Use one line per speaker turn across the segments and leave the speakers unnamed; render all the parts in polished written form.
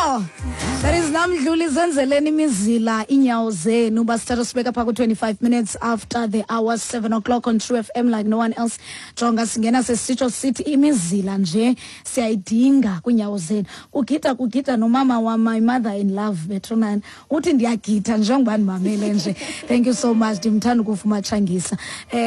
Yho! That is Namdluli, zenzeleni imizila inyawo zenu. Basithatha sibeka pha ku-25 minutes after the hour 7 o'clock on True FM like no one else. Jonga, singena sesitsho sithi imizila nje siyayidinga kwiinyawo zenu. Kugida kugida nomama wam, my mother in love, bethunana. Uthi ndiyagida njengoba ndimamele nje. Thank you so much, ndimthanda ukufa umatshangisa.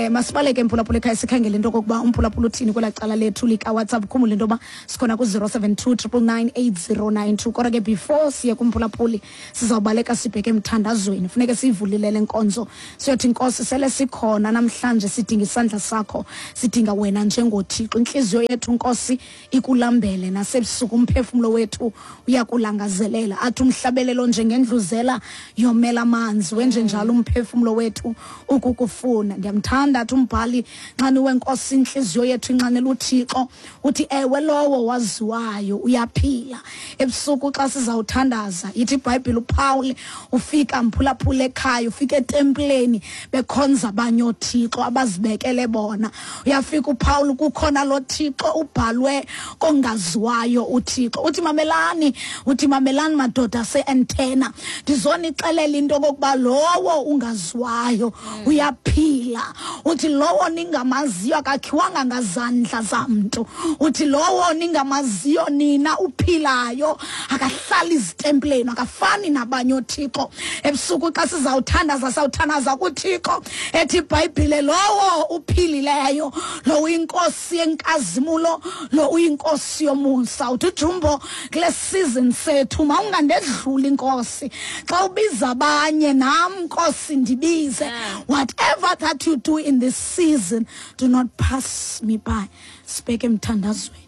Masibaleke, mphulaphula ekhaya, sikhangele into okokuba umphulaphula uthini kwelaa cala lethu likaWhatsApp. Khumbule into yoba sikhona ku-072 999 8092. Kodwa ke before siye kumphulaphuli, sizawubaleka sibheke emthandazweni. Funeke siyivulile le nkonzo, siyothi, "Nkosi, sele sikhona namhlanje, sidinga isandla sakho, sidinga wena njengoThixo. Intliziyo yethu, Nkosi, ikulambele, nasebusuku umphefumlo wethu uyakulangazelela." Athi umhlabelelo, "Njengendluzela yomela amanzi, wenje njalo umphefumlo wethu ukukufuna." Ndiyamthanda, athi umbhali, "Nxaniwe Nkosi, intliziyo yethu inxanela uThixo." Uthi, "Ewe, lowo waziwayo uyaphila." Ebusuku xa sizawuthandaza, ithi iBhayibhile uPaul ufika, mphulaphula ekhaya, ufika etempileni bekhonza abanye oothixo abazibekele bona. Uyafika uPaul, kukhona lo Thixo ubhalwe kongaziwayo uThixo. Uthi, "Mamelani," uthi, "mamelani madoda ase-Athena, ndizonixelela into okokuba lowo ungaziwayo uyaphila." Uthi, "Lowo ningamaziyo akakhiwanga ngazandla zamntu." Uthi, "Lowo ningamaziyo nina uphilayo, akahlali izitempileni, akafani nabanye oothixo." Ebusuku xa sizawuthandaza, sawuthandaza kuThixo ethi iBhayibhile lowo uphilileyo, lo uyinkosi yenkazimulo, lo uyinkosi yomusa. Uthi ujumbo, kule season sethu mawungandedluli inkosi. Xa ubiza abanye, nam Nkosi ndibize. Whatever that you do in this season, do not pass me by. Sibheke emthandazweni.